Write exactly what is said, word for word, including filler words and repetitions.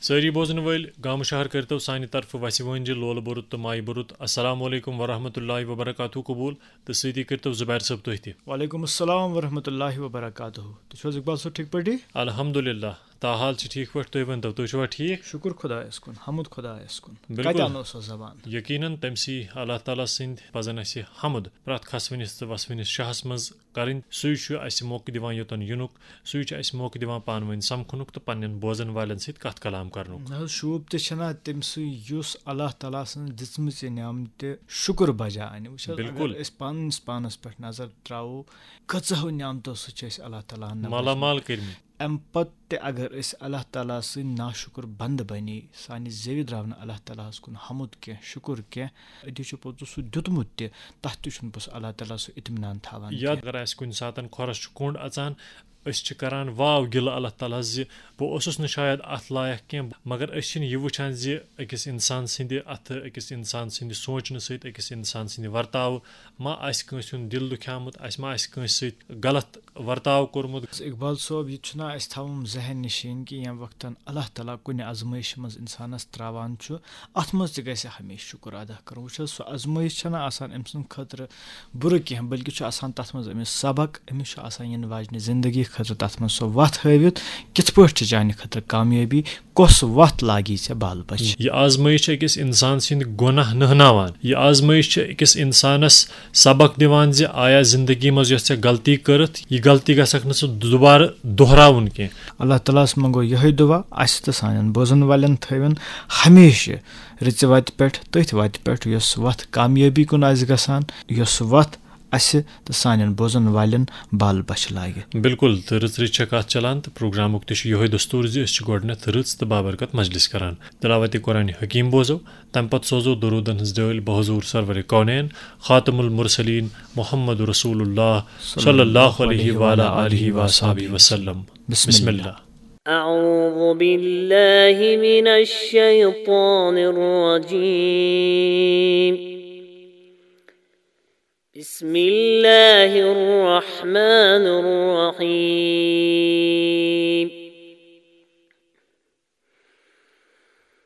سٲری بوزن وٲلۍ گامہٕ شہر کٔرتو سانہِ طرفہٕ وسہِ وٲنجہِ لولہٕ بوٚرُت تہٕ مایہِ بوٚرُت السلام علیکم ورحمۃ اللہ وبرکاتہ قبول، تہٕ سۭتی کٔرتو زبیر صٲب تُہۍ تہِ۔ وعلیکم السلام ورحمۃ اللہ وبرکاتہ۔ تُہۍ چھِو حظ اقبال صٲب ٹھیٖک پٲٹھی؟ الحمدللہ، تاحال چھِ ٹھیٖک پٲٹھۍ، تُہۍ ؤنتو، تُہۍ چھِوا ٹھیٖک؟ شُکُر خۄدایَس کُن، حمد خۄدایَس کُن۔ بِلکُل۔ کَتہِ اَنو سۄ زبان؟ یقیناً تٔمۍ سی اللہ تعالیٰ سٕنٛدۍ پَزَن اَسہِ حمد پرٛٮ۪تھ کھسوٕنِس تہٕ وسوٕنِس شاہَس منٛز کَرٕنۍ۔ سُے چھُ اَسہِ موقعہٕ دِوان یوٚتَن یِنُک، سُے چھُ اَسہِ موقعہٕ دِوان پانہٕ ؤنۍ سَمکھنُک تہٕ پنٛنٮ۪ن بوزَن والٮ۪ن سۭتۍ کَتھ کلام کَرنُک۔ نہ حظ، شوٗب تہِ چھَنا تٔمۍ سٕے یُس اللہ تعالیٰ سٕنٛز دِژمٕژ یہِ نعمتہِ شُکُر بجا اَنہِ۔ وٕچھ حظ، بِلکُل۔ اگر أسۍ پنٛنِس پانَس پٮ۪ٹھ نظر ترٛاوو، کۭژاہو نعمتو سۭتۍ چھِ أسۍ اللہ تعالیٰ ہَن مالا نوٲزمٕتۍ۔ مال کٔرمٕتۍ۔ اَمہِ پَتہٕ تہِ اگر أسۍ اللہ تعالیٰ سٕنٛدۍ ناشُکُر بنٛدٕ بَنے، سانہِ زیوِ درٛاو نہٕ اللہ تعالیٰ ہَس کُن حمد کینٛہہ، شُکُر کینٛہہ، أتی چھُ پوٚتُس سُہ دیُتمُت تہِ، تَتھ تہِ چھُنہٕ پوٚتُس اللہ تعالیٰ سُہ اطمینان تھاوان یا کینٛہہ۔ اگر اَسہِ کُنہِ ساتَن کھۄرَس چھُ کوٚنٛڈ اَژان، أسۍ چھِ کَران واو گِلہٕ اللہ تعالیٰ ہَس زِ بہٕ اوسُس نہٕ شاید اَتھ لایق کینٛہہ، مگر أسۍ چھِنہٕ یہِ وٕچھان زِ أکِس اِنسان سٕنٛدِ اَتھٕ، أکِس اِنسان سٕنٛدِ سونٛچنہٕ سۭتۍ، أکِس اِنسان سٕنٛدِ ورتاوٕ ما آسہِ کٲنٛسہِ ہُنٛد دِل دُکھیومُت، اَسہِ ما آسہِ کٲنٛسہِ سۭتۍ غلط ورتاو کوٚرمُت۔ اقبال صٲب، یہِ تہِ چھُنہ اَسہِ تھاوُن ذہن نِشیٖن کہِ ییٚمہِ وقتن اللہ تعالیٰ کُنہِ آزمٲیشہِ منٛز اِنسانَس ترٛاوان چھُ، اَتھ منٛز تہِ گژھِ ہمیشہِ شُکُر ادا کَرُن۔ وٕچھ حظ، سُہ آزمٲیش چھَنہ آسان أمۍ سٕنٛدِ خٲطرٕ بُرٕ کینٛہہ، بلکہِ چھُ آسان تَتھ منٛز أمِس سبق، أمِس چھُ آسان یِنہٕ واجنہِ زندگی خٲطرٕ تَتھ منٛز سُہ وَتھ ہٲوِتھ، کِتھ پٲٹھۍ چھِ چانہِ خٲطرٕ کامیٲبی، کۄس وَتھ لاگی ژےٚ بال بچھ؟ یہِ آزمٲیش چھِ أکِس اِنسان سٕنٛدۍ گۄناہ نٔہناوان۔ یہِ آزمٲیش چھِ أکِس اِنسانَس سبق دِوان زِ آیا زندگی منٛز یۄس ژےٚ غلطی کٔرٕتھ، یہِ غلطی گژھکھ نہٕ ژٕ دُبارٕ دۄہراوُن کینٛہہ۔ اللہ تعالیٰ ہَس منٛگو یِہوٚے دُعا، اَسہِ تہٕ سانٮ۪ن بوزَن والٮ۪ن تھٲوِن ہمیشہِ رٕژِ وَتہِ پٮ۪ٹھ، تٔتھۍ وَتہِ پٮ۪ٹھ، یۄس وَتھ کامیٲبی کُن آسہِ گژھان، یۄس وَتھ اَسہِ تہٕ سانٮ۪ن بوزَن والٮ۪ن بال بچھ لاگہِ۔ بِلکُل، تہٕ رٕژ رٕژ چھےٚ کَتھ چلان، تہٕ پروگرامُک تہِ چھُ یِہوٚے دستوٗر زِ أسۍ چھِ گۄڈٕنٮ۪تھ رٕژ تہٕ بابرکت مجلس کران۔ تلاوت قرآن حکیم بوزو، تَمہِ پتہٕ سوزو درودن ہٕنٛز ڈٲلۍ بحضور سرور کونین خاتم المرسلین محمد رسول اللہ صلی اللہ علیہ وعلی آلہ وصحبہ وسلم۔ بسم بسم اللہ۔ اللہ۔ أعوذ بالله من الشيطان الرجيم. بسم الله الرحمن الرحيم.